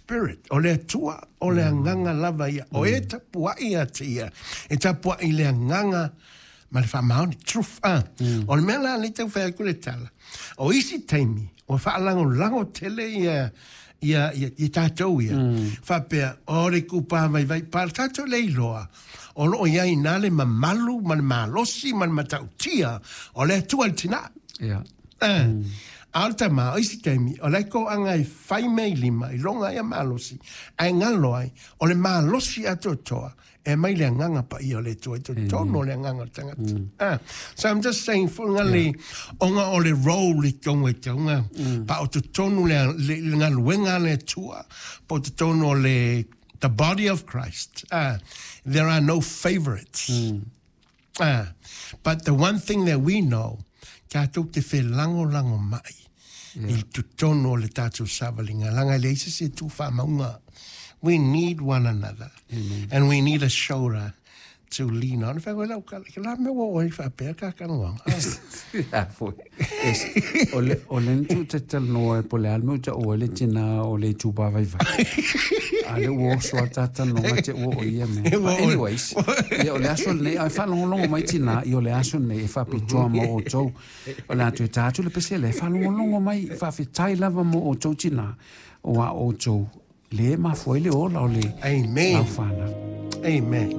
Spirit. O le Atua, o le Agaga lava ia. O e tapuai ia te ia, e tapuai i le Agaga ma le faamaoni, truth. Ah. O le mea la lea e tau fai atu le tala, o isi taimi, ua faalagolago tele ia ia ia ia tatou ia. Faapea, o le itupa vaivai, pa tatou le iloa, o lo o i ai i ina le mamalu ma le malosi ma le matautia o le Atua i le tina. Eh. A o le tama, o isi taimi, o la e toaga e fai mea i lima, i loga ia malosi, ae galo ai, o le malosi atoatoa, e aumai le Agaga Paia o le Atua i totonu o le agaga o le tagata. Ah, so I'm just saying, foi nga le, ona o le role i totonu e tauga, pa o totonu le, le, le galuega a le Atua, po o totonu o le, the body of Christ. Ah, there are no favorites. Ah, but the one thing that we know, tatou te felagolagomai i totonu o le tatou savaliga, leaga e leai se isi e tu faamauga. We need one another. And we need a shoulder to lean on. Fai koe lau kala, ke la mea ua oe faapea ka kanoaga. A foi. Es, o le, o le ntu te talanoa e po le a le mea ua taua ai le tina o le itupa vaivai. A lea ua oso a ta talanoaga te ua o ia mea. But anyways, ia o le aso lenei, a e faalogologo mai tina, ia o le aso lenei e faapitoa mo outou. O le a toe ta atu le pese lea, e faalogologo mai, faafetai lava mo outou tina, aua o outou le mafua ai le ola o le Amen. lau fanau. Amen.